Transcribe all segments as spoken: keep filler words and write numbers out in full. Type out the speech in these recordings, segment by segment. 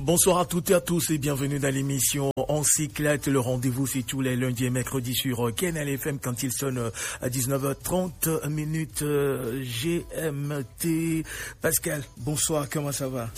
Bonsoir à toutes et à tous et bienvenue dans l'émission En Cyclette. Le rendez-vous, c'est tous les lundis et mercredis sur, euh, K N L F M quand il sonne, euh, à dix-neuf heures trente minutes, euh, G M T. Pascal, bonsoir, comment ça va?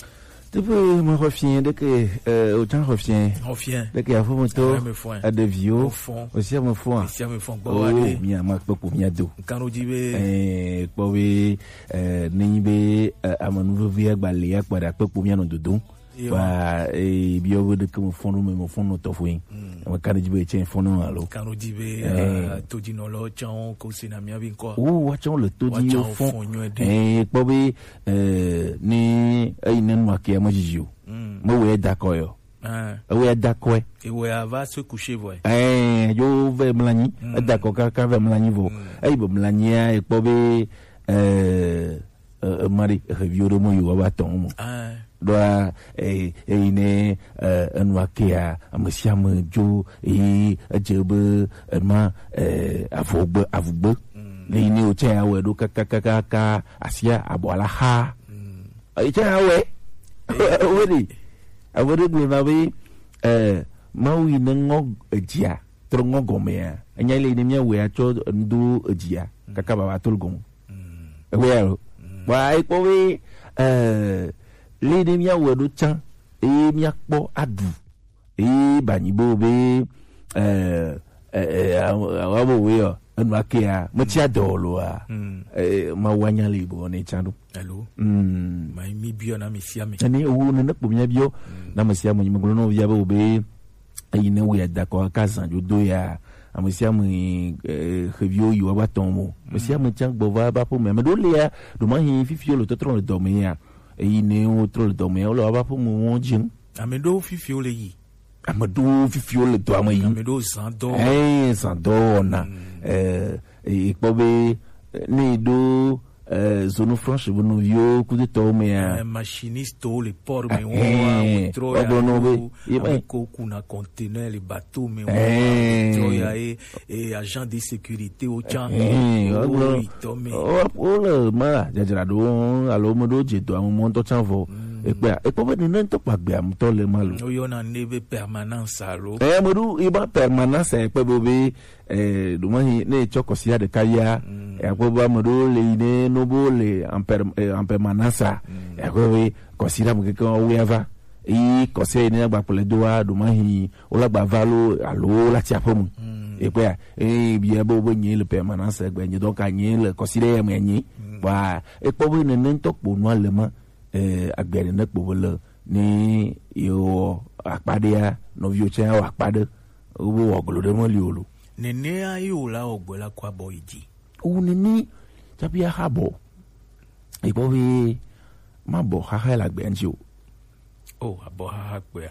Tupu, mo xɔ fiẽ ɖeke, eh, o tsã xɔ fiẽ. Xɔ fiẽ. Ɖeke afo mo to. Ame fɔe. Aɖeviwo. O fɔn. O sia me fɔa. O sia me fɔn gbɔ wa ɖe. Mia ma kpekpo mia do. Nkan ɖo dzi be. Eh, kpɔ be, eh, ne nyi be, eh, ame nuvevi agba le ya kpɔ ɖe akpekpo mia nɔ dodom. Yo. Ba, eh, biɔ be ɖeke mo fɔn ɖo me mo fɔn nɔ tɔfo yin. Mm. Ame ka ɖe dzi be tsɛ fɔn nɔ alo. Nkan ɖo dzi be, eh, todinɔlɔ tsã ko si na mia be ŋkɔ. O, wa tsã le todi yo fɔn. Fɔn nyuie ɖe. Eh, kpɔ be, eh, ni eyi ne nua ke ame zizi o. Mm. Me wɛ da kɔ yo. Ah. Ewe da kɔe. Ewe ava se coucher vɔe. Eh, yo ve mlanyi. Mm. Eda kɔ kaka ve mlanyi vo. Mm. Eyi be mlanyia, ekpɔ be, eh, eh, mari, eh, vi ore mo yo wa tɔn mo. Ah. Ɖoa, eh, eyi ne, eh, enua kea, ame sia ame dzo, eye edze be ema, eh, avɔgbe, avugbe. Mm. Le yi ne o tsɛ ya wɛ ɖo kaka, kaka, kaka, asia, abɔ ala xa. Mm. Etsã ya wɛ. Wɛ ɖi. Ame ɖe gblɔ na be, eh, Mawu yi ne ŋɔ edzia, trɔ ŋɔ gɔmea. Enya le yi ne mia wɛ atsɔ ŋdo edzia, kaka baba to le gɔme. Mm. Ewe ya lo. Mm. Wa ekpɔ be, eh, le yi ne mia wɛ ɖo tsã, eye mia kpɔ aɖu. Eye ba nyi bo be, eh, eh, eh, awa bo we yo, enu akea, me tsi adɔ lo a. Mm. Eh, ma wa nya le bo ne tsa do. Hello. Mm. Ma mi bio na mi sia mi. Ani wo ne ne kpo mi bio. Mm. Na mi sia mi, mi glo no via be o be, eyi ne we da ko ka zan jo do ya. Ame sia ame, eh, xeviwo yi woava tɔn mo. Ame sia ame tsã gbɔ va eƒe aƒe me. Ame ɖewo lia, ɖo ma hi fifi wo le tɔtrɔ le dɔ me ya. Eyi ne wo trɔ le dɔ me ya, wo le woƒe aƒe me wo dzi. Ame ɖewo fifi wo le yi. Ame ɖewo fifi wo le dɔa me yi. Ame ɖewo zan dɔ. Eh, zan dɔ wɔna. Mm. Eh, e kpɔ be, eh, ne yi ɖo, eh, zone franche be nɔviwo kudetɔwo mea. Eh, machiniste wo le port me wo wa wo trɔ ya. Wa gblɔ nɔ be, ye ame ko kuna conteneur le bateau me wo wa wo trɔ ya ye, e agent de sécurité wo tsã. Eh, wo wo gblɔ, yi tɔ me. Wo, wo le ma dzadzra ɖo alo me ɖo dze dɔa me mɔ ŋutɔ tsã vɔ. Mm. Ekpea, ekpɔ be nene ŋutɔ kpa gbea ŋutɔ le ma lo. Wo yɔna ne be permanence alo. Eh, me ɖo, e ba permanence ekpe be be, eh, ɖo ma hi, ne etsɔ kɔsia ɖeka ya, mm, e akpɔ be ame ɖewo le yi ne no bo le en per-, eh, en permanence a, mm, e akpɔ be kɔsi ɖe ame keke wo ya va. Yi kɔsi yi ne agba kplɔe do wa, ɖo ma hi, wo la gba va lo, alo wo la tsi aƒe mu. Mm. Ekpea, eh, bia be wo be nye le permanence gbe nye, donc a nye le kɔsi ɖe ya me nye. Mm. Wa, ekpɔ be nene ŋutɔ kpo nua le ma, eh, agbe nene kpo be le, ne ye wɔ akpa ɖea, nɔviwo tsã ya wɔ akpa ɖe. Wo be wɔ glo ɖe meli o lo. Nenea ye wòla wɔ gbɔ la kɔ abɔ yi dzi. Wu nene tsaƒe axa bɔ. Ekpɔ be ma bɔ xaxa le agbea ŋuti o. Oh, abɔ xaxa kpea.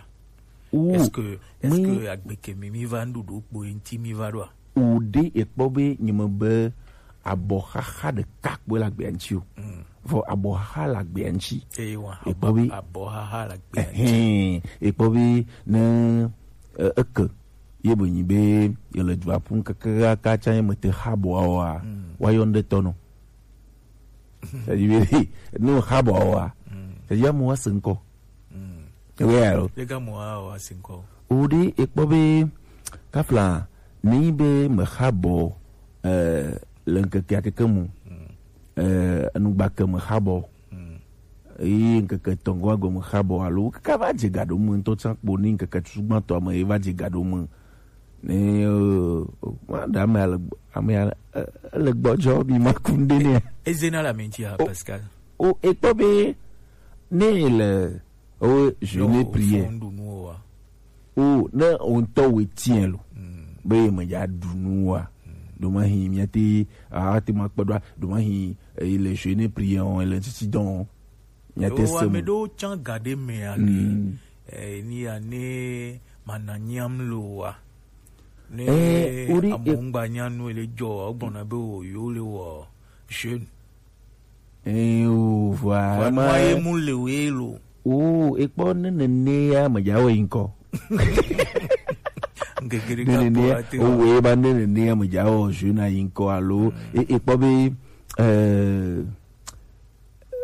Wu est-ce que, est-ce que agbe ke mi, mi va nuɖuɖu kpo ye ŋuti mi va ɖoa? O ɖe ekpɔ be nye me be abɔ xaxa ɖeka kpoe le agbea ŋuti o. Mm. Vɔ abɔ xaxa le agbea ŋuti. Eye wa, ekpɔ be abɔ xaxa le agbea ŋuti. Ɛhɛn, ekpɔ be ne, e, eke ye be nyi be ye le dua ƒum kaka tsã ye me te xa bɔa wa, mm, wa yɔ ŋɖe tɔ nɔ. C'est-à-dire be ne xa bɔa wa, mm, c'est-à-dire amewo ase ŋkɔ. Mm. Ewe alo. Lega mo a wa sinkɔ. O ɖe ekpɔ be kafla ne yi be me xa bɔ, eh, le ŋkeke akeke mu. Mm. Eh, enugba ke me xa bɔ. Mm. Eye ŋkeke tɔngɔ agɔ me xa bɔ alo kaka va dze ga ɖo me ŋutɔ tsã kpo ne ŋkeke tutugbãtɔ me ye va dze ga ɖo me. Ne, eh, ma ɖe ame ale, ame ale, eh, ele gbɔdzɔ bi ma ku ŋɖe nɛ. Ezena le ame ŋuti a, o, Pascal. O, ekpɔ be ne le, o, je ne prie. O, ne o ŋutɔ we tiɛ lo. Mm. Be me ya ɖu nu wa. Mm. Ɖo ma hi mia te, a te ma kpe ɖo, ɖo ma hi, eh, le je ne prie o, le titi dɔn. Mia te se ame ɖewo tsã ga ɖe mea ke, mm, eh, ni ya ne mana nyam lo wa. Ne, eh, ori, amewo ŋgba nya nu le dzɔ, o gbɔna be o yo le wɔ jeune. Eh, o, vɔa, vɔa ma nua ye mu le we lo. O, ekpɔ ne nene ya me dza wɔ yi ŋkɔ. Ŋkeke ɖeka nene kpɔ ya, ate o we ba ne nene ya me dza wɔ jeune yi ŋkɔ alo, mm, e, ekpɔ be, eh,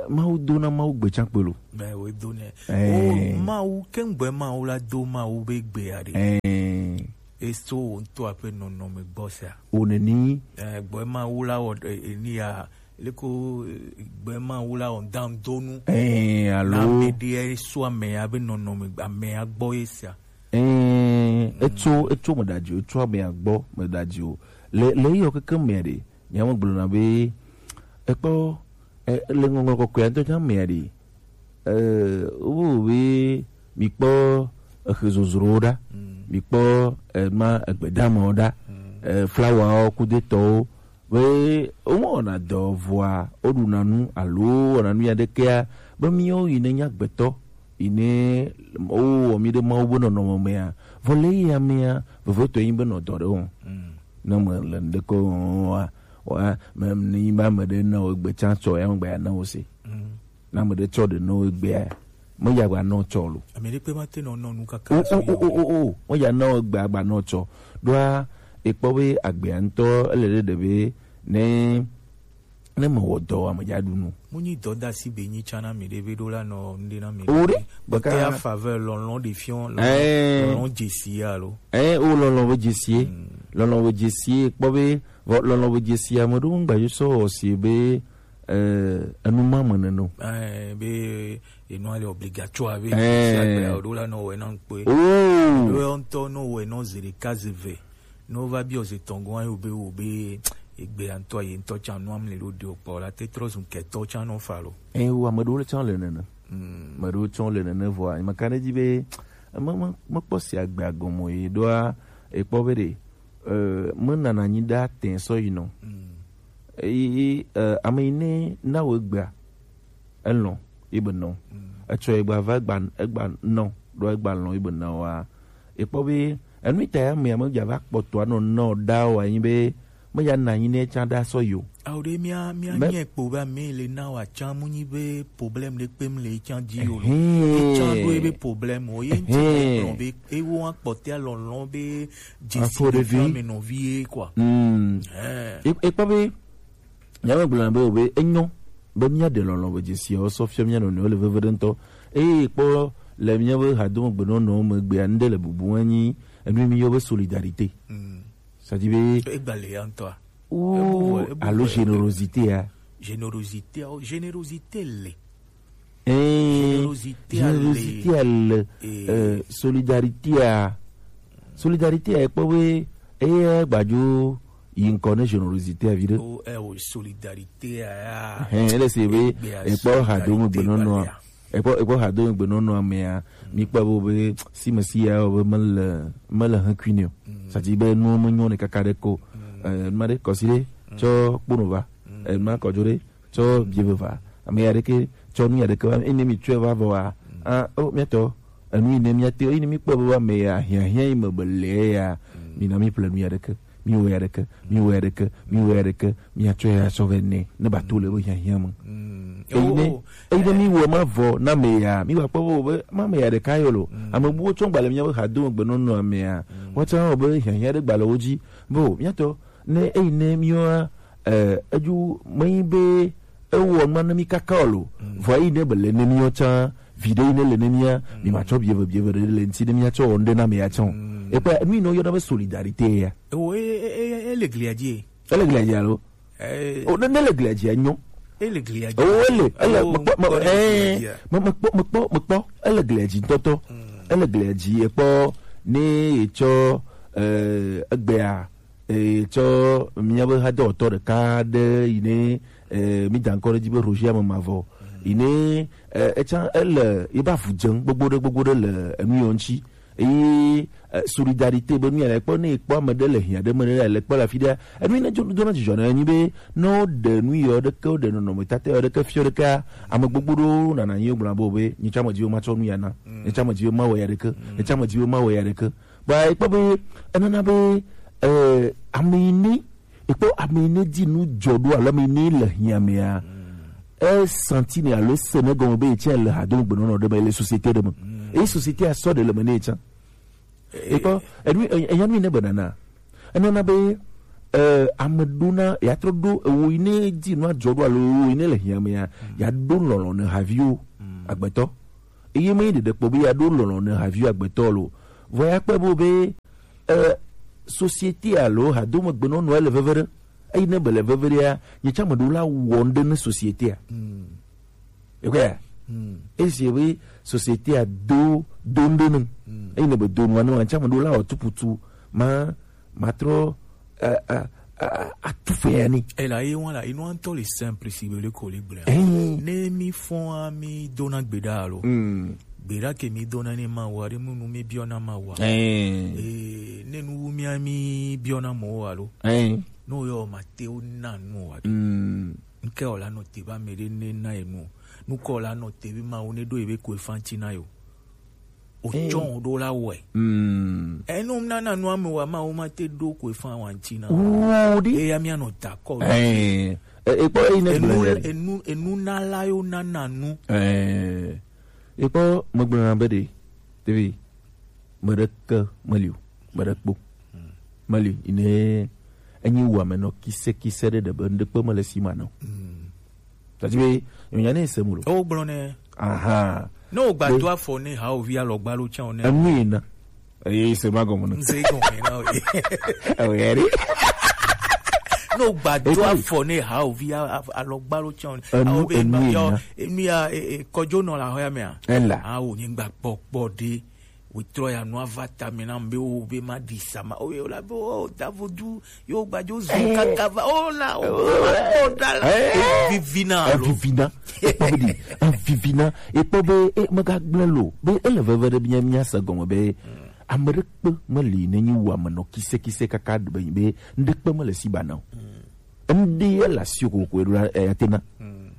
Mawu do na Mawu gbe can kpe lo. Mɛ wo do nɛ. Ɛɛ. O Mawu kɛngbɛ Mawu la do Mawu be gbe ya de. Ɛɛ. Eso wo ŋutɔ aƒe nɔnɔme gbɔ sia. O neni. Ɛɛ, gbɛ Mawu la wɔ eni ya leko gbɛ Mawu la wɔ dan donu. Ɛɛ, alo. Na ame de eso ame ya be nɔnɔme ame ya gbɔ ye sia. Ɛɛ, etso etso me da dzi o, etso ame ya gbɔ me da dzi o. Le le yɔ keke me de. Nyamegblɔna be ekpɔ e, le ŋɔŋlɔ kɔkɔe ŋutɔ tsã mea ɖe e, wo be mikpɔ exe zozrowo ɖa, mikpɔ ema egbedamawo ɖa, e, flawawo kudetɔwo be womewɔna dɔ vɔa woɖuna nu alo wɔna nu aɖekea be míwo yi ne nye agbetɔ yi ne wowɔ mí ɖe Mawu be nɔnɔme mea vɔ le eya mea vevotɔe nyi be nɔ dɔ ɖe wɔm. Ne mele ŋɖeke wɔm oa, wa me ne nyi be ame ɖe na wo egbe tsã tsɔ ya megbe ya na wo se. Ne ame ɖe tsɔ ɖe na wo egbea, me ya gba nɔ tsɔ lo. Ame ɖe kpe ma te nɔ nɔ nu kaka. O o o o o, me ya na wo egbe agba nɔ tsɔ. Ɖoa ekpɔ be agbea ŋutɔ ele ɖe ɖe be ne ne me wɔ dɔ wa me dza ɖu nu. Mu nyi dɔdasi be nyi tsã na mi ɖe be ɖo la nɔ ŋɖe na mi. O ɖe. Baka ya faveur lɔlɔ de fiɔ lɔlɔ dzesi ya lo. Ɛ o lɔlɔ be dzesi. Lɔlɔ be dzesi kpɔ be vɔ lɔlɔ be dzesi ame ɖewo ŋgba yo sɔ si be ɛ enu ma me nene o. Ɛ be enu ale obligatoire be dzesi agbe o ɖo la nɔ wɛ na ŋkpe. O ɖo ŋtɔ nɔ wɛ nɔ zi ɖeka zi ve. Ne wova biɔ ze tɔn gɔn ayo be wo be egbe ya ŋutɔ ye ŋutɔ tsã nua mli ɖo ɖi o kpɔ la te trɔ zun kɛtɔ tsã nɔ fa lo. Ɛ wo ame ɖewo tsã le nene. Ame ɖewo tsã le nene vɔa meka ɖe dzi be me me mekpɔ si agbe agɔme o ye ɖoa ekpɔ be ɖe e menana anyi ɖe atɛ sɔ yi nɔ. Eyi e ame yi ne na wo egbea elɔ̃ ye be nɔ. Etsɔ ye gba va egba egba nɔ ɖo egba lɔ̃ ye be nɔ wa. Ekpɔ be enu ta ya me ame dza va kpɔtɔ anɔ nɔ da wa yin be me ya na yin ne tsa da sɔ yo. Awo ɖe mía mía nyɛ kpo be ame le na wa tsa mu nyi be problème ɖe kpem le tsa dzi yo lo. Tsa ɖo ebe problème o ye ŋti kplɔn be ewo akpɔtea lɔlɔ̃ be dzesi ɖe fia me nɔvi ye quoi. Ekpɔ be Nyamegblɔna be o be enyɔ be míaɖe lɔlɔ̃ be dzesiawo sɔ fia mía nɔnɔewo le veve ɖe ŋutɔ. Eye kpɔ le míabe hadome gbenɔnɔwo megbea, ŋɖe le bubu anyi enu mi yɔ be solidarité. C'est-à-dire be egba le ya ŋutɔa. Ou alo générosité ya. Générosité, générosité le. Ee, générosité ale, euh, solidarité a solidarité a ekpɔ be eye gbadzo yi ŋkɔ ne générosité a vi ɖe. O ɛ o solidarité a ya. Hɛn ele se be ekpɔ ha do me gbenɔnɔa ekpɔ ekpɔ ha do me gbenɔnɔa mea mi kpɔ be be si me si ya o be mele mele hɛn kui ne o sati be nuwo me nyɔ ne kaka ɖe ko. Ɛ numa ɖe kɔsi ɖe tsɔ kpono va ɛ numa kɔdzo ɖe tsɔ bie veva ame ya ɖeke tsɔ nu ya ɖeke va ene mi tsɔe va vɔ wa ah o miatɔ enu yi ne miate yi ne mi kpɔ be ame ya hiahiã yi me be le ya mi na mi ple nu ya ɖeke mi wɔ ya ɖeke mi wɔ ya ɖeke mi wɔ ya ɖeke mi atsɔ ya sɔ vɛ ne ne ba to le be hiahiã me eyi ne eyi ne mi wɔ ma vɔ na ame ya mi wa kpɔ be be ma ame ya ɖeka yɔ lo ame buwo tsɔ gbalẽ mia be ha do gbe nɔnɔ ame ya wɔtsa wɔ be hiahiã ɖe gbalẽ wo dzi be o miatɔ ne eyi ne miwa eh, eju menyi be ewɔ nua ne mi kaka o lo vɔ eyi ne bele ne miwa tsã vi ɖe yi ne le ne mia mi ma tsɔ bieve bieve ɖe le ŋti ne mia tsɔ wɔ ŋɖe na me ya tsã o ekpɔ nu yi ne woyɔna be solidarité ya. Ewo e e e e le glia dzi. Ele glia dzi alo o ne ne le glia dzi enyo. Ele glia dzi. O ele ele mekpɔ me eh mekpɔ mekpɔ mekpɔ ele glia dzi ŋutɔtɔ ele glia dzi ekpɔ ne etsɔ eh egbea etsɔ míabe hadɔwɔtɔ ɖeka ɖe yi ne eh, mi da ŋkɔ ɖe dzi be Roger ame mavɔ yi ne eh, etsã ele yi be avu dze gbogbo ɖe gbogbo ɖe le enu yɔ ŋuti eye eh, solidarité be nu ya le kpɔ ne ekpɔ ame ɖe le hiã ɖe me ɖe le kpɔ le afi ɖe enu yi ne dzo dona dzidzɔ ne enyi be ne wo ɖe nu yɔ ɖeke wo ɖe nɔnɔme tata yɔ ɖeke fiɔ ɖeke ame gbogbo ɖewo nana anyi gblɔ be be nyitsɔ ame dziwo matsɔ nu ya na nyitsɔ ame dziwo mawɔ ya ɖeke nyitsɔ ame dziwo mawɔ ya ɖeke Ba ekpɔ be enana be eh, ame yi ne ekpɔ ame yi ne di nu dzɔ ɖo alo ame yi ne le hiã mea esanti ne alo ese ne gɔme be etsɛ le hadome gbenɔnɔ ɖe me le société ɖe me eye société asɔ ɖe le me ne etsã ekpɔ enu eya nu yi ne be nana enana be eh, ame ɖona, ya trɔ ɖo ewo yi ne di nu adzɔ ɖo alo ewo yi ne le hiã me ya, ya ɖo lɔlɔ̃ ne haviwo agbetɔ. Eye me ɖeɖe kpɔ be ya ɖo lɔlɔ̃ ne haviwo agbetɔ lo. Vɔ ya kpe bo be, eh, société alo hadome gbenɔnɔ ele veve ɖe. Eyi ne be le veve ɖea, nye tsã me ɖo la wɔ ŋɖe ne société a. Ekpɔa? Esi be société a do, do ŋɖe ne. Eyi ne be do nua ne, wa tsã me ɖo la wɔ tuputu. Ma, ma trɔ, a, a, a, a, tu fe ya ni. Ela ye wan la, inu antɔ le simple si be le ko le gblẽ. Eh. Ne mi fɔn a mi dona gbeɖa alo. Gbeɖa ke mi dona ne ma wa, ɖe mu nu mi biɔna ma wa. Eh. Eh, ne nu wu mi a mi biɔna mɔ wa lo. Eh. No yo ma te o na nu wa. Nke o la no te ba me ɖe ne na enu. Nu ko la no te bi ma o ne do ebe ko efanti na yo. O tsɔn o ɖo la wɛ. Enu nana nu ame wa ma o ma te ɖo ko efan wa ŋti na. Wo ɖi. Eya mi anɔ ta kɔ. Eh, eh, ekpɔ eyi ne enu gblẽ le. Enu, enu na la yo nana nu. Eh, ekpɔ megblẽ na be ɖe, tevi, meɖeke meli o, meɖe kpo. Meli, ine enyi wu ame nɔ kise kise ɖe ɖe be ŋɖekpe mele si ma nɔ. Tadi be, nyonya ne se mu lo. O gblɔ ne. Aha. Ne o gba do afɔ ne ha o vi alɔgba lo tsa o ne. Enu yi na. Eye se ma gɔme na. Nse gɔme na o. Ewe ri. Ne o gba do afɔ ne ha o vi a-, a-, alɔgba lo tsa o ne. Enu, enu yi na. Enu ya, e, e, kɔjo nɔ la hɔ ya me a. Ela. A o nyi gba kpɔ kpɔ de. Wetrɔ ya nua va ta me na be o be ma di sama. O ye o la be o da vodu. Yo gbajo zu kaka va o la o ma kpɔ ɖa la. Eh. Evivina lo. Evivina. Ekpɔ be ɖi. Evivina. Ekpɔ be, e, megagblẽ lo. Be ele veve ɖe mía, mía se gɔme be ame ɖekpe meli ne nyi wu ame nɔ kise kise kaka be, be ŋɖekpe mele si ba na o. Ŋɖe ya le asi o kokoko eɖo la, eh, atena.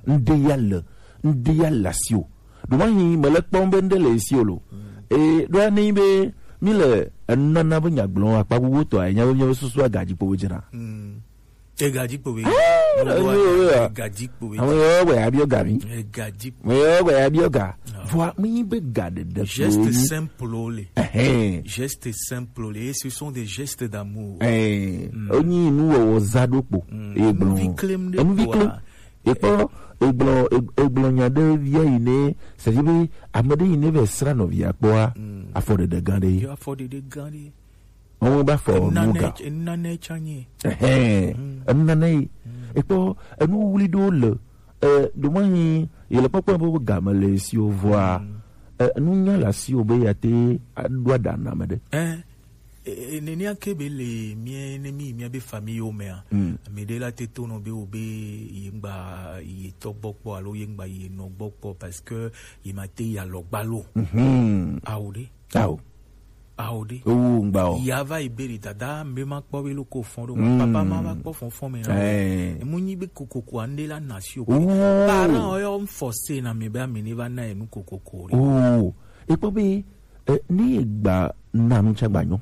Ŋɖe ya le, ŋɖe ya le asi o. Ɖo mahi mele kpɔm be ŋɖe le esi o lo. E, ɖo ne be mi le enana be nyagblɔ akpa gbogbo tɔ, enya be míabe susu agadzi kpo be dzena. Egadzi kpo be. Egadzi kpo be. Ame yawo gbe ya biɔ ga mi. Egadzi kpo. Ame yawo gbe ya biɔ ga. Vɔa mi be ga ɖeɖe kpo. Geste simple le. Ɛhɛn. Geste simple le. Et ce sont des gestes d'amour. Ɛhɛn. Onyi nuwɔwɔ za ɖo kpo. Eye gblɔ. Enuvi klem ɖe kpoa. Ekpɔ, egblɔ, eg-, egblɔ nya ɖe via yi ne, c'est-à-dire be ame ɖe yi ne vɛ sra nɔvia kpɔa, afɔɖeɖe gã ɖe. Yo afɔɖeɖe gã ɖe. Wɔn ba fɔ nu ga. Enane tsanye. Ɛhɛn, enane yi. Ekpɔ, enu wuli ɖewo le, eh, ɖo ma yi, yi le kpɔkpɔ be game le si o vɔa, eh, enu nya le asi o be ya te aɖo aɖa na ame ɖe. Eh, E, e, nenea ke be le mía, ne mí, mía be famille wo mea, ame ɖe la te to nɔ be wo be ye ŋgba ye tɔ gbɔ kpɔ alo ye ŋgba ye nɔ gbɔ kpɔ parce que ye ma te yi alɔgba lo. Awo ɖe. Awo. Awo ɖe. Owo ŋgba o. Ya va yi be ɖi dada mbe ma kpɔ be lo ko fɔn ɖo. Papa ma va kpɔ fɔn fɔn me na. Emu nyi be kokoko ande la na si o. Parent o yɔ forcé na me be ame ne va na enu kokoko ɖe. Oh, ekpɔ be Eh, ne gba na nu tsa gba nyɔ.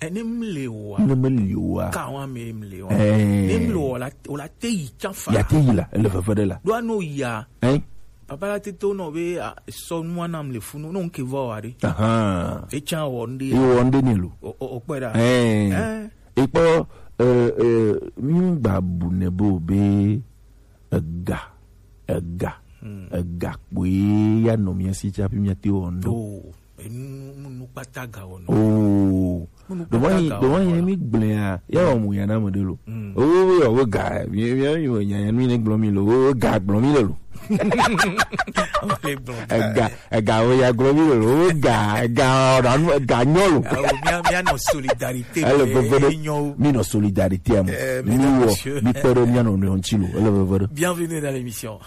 Eh, ne mle wa. Ne mle wa. Ka wa me mle wa. Eh. Ne mle wa la, o la te yi tsa fa. Ya te yi la, ele veve ɖe la. Do ano ya. Eh? Papa la te to no be, a, sɔ nu ana mle funu, no nke vɔ wa ɖe. Aha. E tsa wɔ nde. E wɔ nde ne lo. O, o, o kpɛ ɖa. Eh. Eh. Ekpɔ, eh, eh, mi gba bu ne bo be ega, ega, ega kpoe ya nɔ mía si tsafi mía te wɔ ŋdɔ. Oh, enu, nu, nu kpata ga wɔ nɔ. Oh. Nu kpata ga wɔ nɔ. Ɖo wɔ yi, ɖo wɔ yi mi gblẽ ya, ya wɔ mu ya na me ɖe lo. Oh, yɔ, wo ga, mi, mi, mi, nya, nya, mi ne gblɔ mi lo, wo ga gblɔ mi le lo. Ega, ega, wo ya gblɔ mi le lo, wo ga, ega, ɔ, ɖa nu, ega nyɔ lo. Awo, mía, mía nɔ solidarité. Ele veve ɖe, mi nɔ solidarité me. Eh, mi wɔ, mi kpe ɖe mía nɔ nɔewo ŋuti lo, ele veve ɖe. Bienvenue dans l'émission.